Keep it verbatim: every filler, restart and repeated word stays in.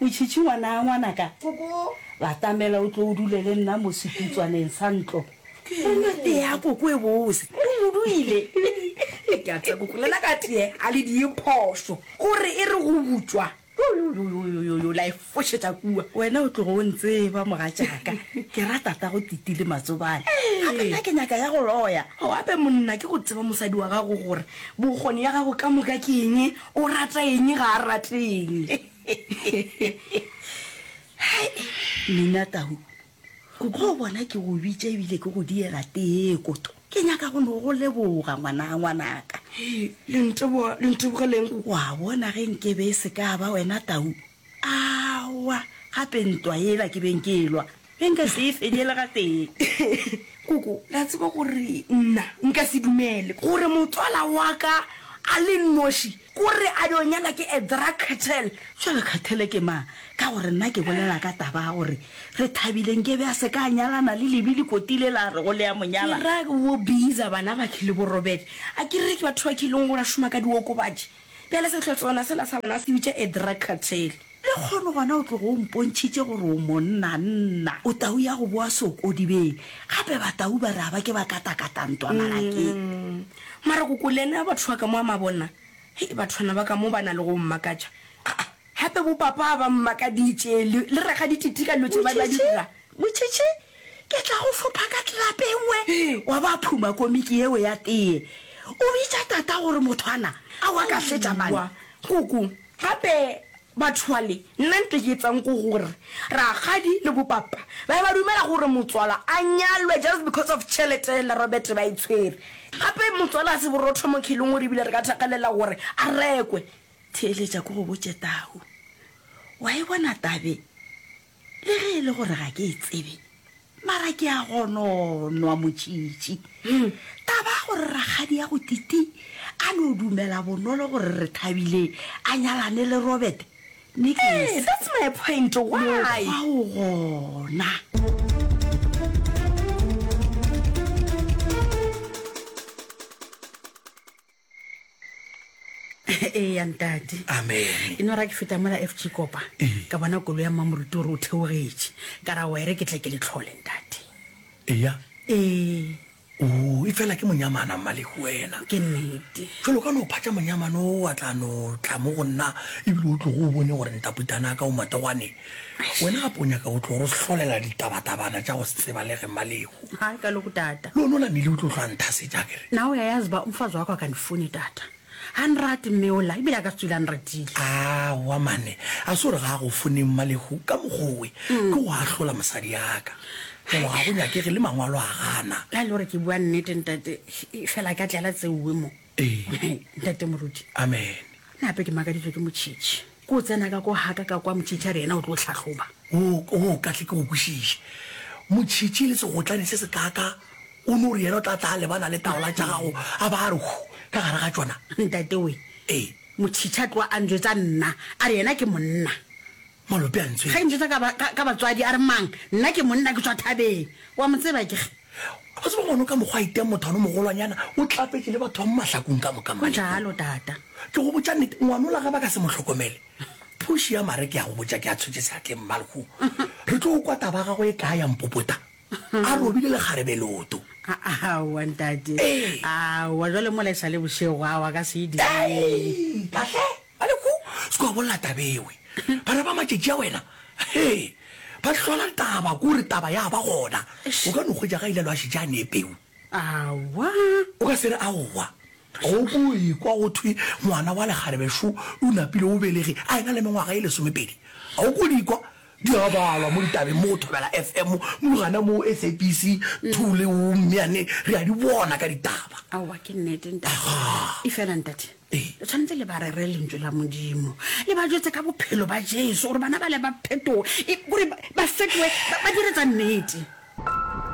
Motšhitšhi ngwana ngwanaka, batamela o tlo o dule le nna mo setutswaneng sa ntlo. Re nwe tee ya koko e bose. O moduile. Ke a tseba koko, lena ka tee ga le die phošo gore e re go butšwa yoyoyoyoyo la e fošetša kua. Wena o tlogo o ntseba mogatšaka, ke ra tatago Titi le Matsobane. Gape nna ke nyaka ya go loya. O gape monna ke go tseba mosadi wa gago gore bokgoni ya gago ka moka ke eng, o rata eng ga a rate eng. Hai, Nina Tau, go bona ke go bitša ebile ke go diela tee koto. Ke nyaka go no go leboga ngwana ngwanaka. Hei, le nteboga, le ntebogeleng koko. Wa bona ge nkebe e se ka ba wena Tau, aowa, gape ntwa yela ke beng ke e lwa, be nka se e fenye le gatee. Koko, le a tseba gore nna nka se dumele gore motswala wa ka a le nnoši kore a dio nyala ke a drug cartel. Bjale cartel ke mang? Ka gore nna ke bolela ka taba ya gore Rethabile nkebe a se ka a nyalana le Lebi Lekoti le la rego le a mo nyala. Ke ra bo Biza bana ba ke le bo Robert. A ke re ke batho ba ke leng gore ba šoma ka diokobatši. Bjale sehlotswana sela sa bona se bitša a drug cartel. Lekgono gona o tlogo o mpontšhitše gore o monna nna. O tau ya go boa sokodibeng. Gape batau ba re a ba ke ba katakata ntwa malakeng. Mara koko le yena batho ba ka mo a mabona. Hei bathwana ba ka mo ba na le go mmakatša. Aa gape bo papa ba mmakaditše le le rakgadi Titi ka dilo tše ba ba di dira. Motšhitšhi, ke tla go fopha ka tlelapa e nngwe wa ba phuma komiki yeo ya tee. O bitša tata gore mothwana a wa ka hletša mane. Koko, gape Batho bale, nna nto ke etsang ko gore rakgadi le bopapa ba be ba dumela gore motswala a nyalwe just because of tšhelete la Robert ba e tshwere. Gape motswala a se borotho mo khelong gore ebile re ka thakgalela gore a rekwe. Theeletša ko go botše Tau. Wa e bona tabe? Le ge e le gore ga ke e tsebe, mara ke a gononwa motšitši. Taba ya gore rakgadi ya go Titi a no dumela bonolo gore Rethabile a nyalane le Robert, ne ke Ee, that's my point, why? Mokgwa o gona. Eya ntate. Amen. E no ra ke feta mola F G Kopa, ka bona koloi ya mmamoruti gore o theogetše. Ka ra wa e re ke tle ke le tlhole ntate. Eya. Ee. Oo, efela ke monyamana Mmalehu wena. Ke nnete. Jwale o ka no phatša monyamana o wa tla no tla mo go nna ebile o tlogo o bone gore ntaputana ka o mategwane. Wena gape o nyaka go tlo re hlolela ditabatabana tša go se tsebalege Mmalehu. Hai kaloku tata. Le ona o namile o tlo hlwa nthasetša akere. Na o ya yazi ba umfazi wakho akandifuni tata. Ga nrate mme ola, ebile a ka se tswile a nratile. Aowa mane, a se gore ga a go fone Mmalehu ka mokgwa owe, ke go ahlola mosadi ya ka. Jalo ga go nyakege le mangwalo a gana. La e le gore ke bua nnete ntate, fela ka tlela tseuwe mo. Ee. Ntate Moruti. Amen. Nna gape ke makaditswe ke Motšhitšhi. Ke o tsena ka ko gaka ka kwa Motšhitšhi a re yena o tlo hlahloba. O, o ka tle ke go kwešiše. Motšhitšhi le segotlane se sekaaka O no re yena o tla tla a lebana le taola tša gago a ba a re hu ka gare ga tšona. Ntate we, Ee. Motšhitšhi a tloga a njwetša nna, a re yena ke monna. Malope a ntswele. Ge njwetša ka ba, ka, ka batswadi a re mang, nna ke monna ke tšwa thabeng. Wa mo tseba ke ge. O tseba ngwana o ka mokgwa a iteng mothwana o mogolwanyana, o tlapetše le batho ba mo mahlakong ka moka Go Mmalekong. jalo tata. Ke go botša nnete, ngwanola ge ba ka se mo hlokomele, phuši ya mare ke a go botša ke a tshwetše seatleng Mmalekong. Re tlo kwa taba ya gagwe e kae ya mpopota. A robile lekgarebe leoto. Aowa ntate. Ee. Aowa jwale mola e sa le bošego, aowa ka se e dire. Ei, kahle, Malehu, se ke wa bolela taba ewe. Bana ba matšatši a wena, he, ba hlola taba, ke gore taba ya ba gona. O ka no hwetša ga ile lwa šetše a nee peu. Aowa. O ka se re aowa. Go ko ekwa go thwe ngwana wa lekgarebe šo o napile o belege a ena le mengwaga e lesomepedi. A o ko di kwa? Di a balwa mo ditabeng mo go Thobela F M, mo gana mo S A B C two le o Mmeane, re a di bona ka ditaba. Aowa, ke nnete, ntate. Agaa. Efela, ntate, Ee. le tshwanetse le ba rere Lentšu la Modimo, le ba jwetse ka bophelo ba Jesu, gore bana bale ba phetoge, e, gore ba, ba fetoge, ba, ba dire tsa nnete.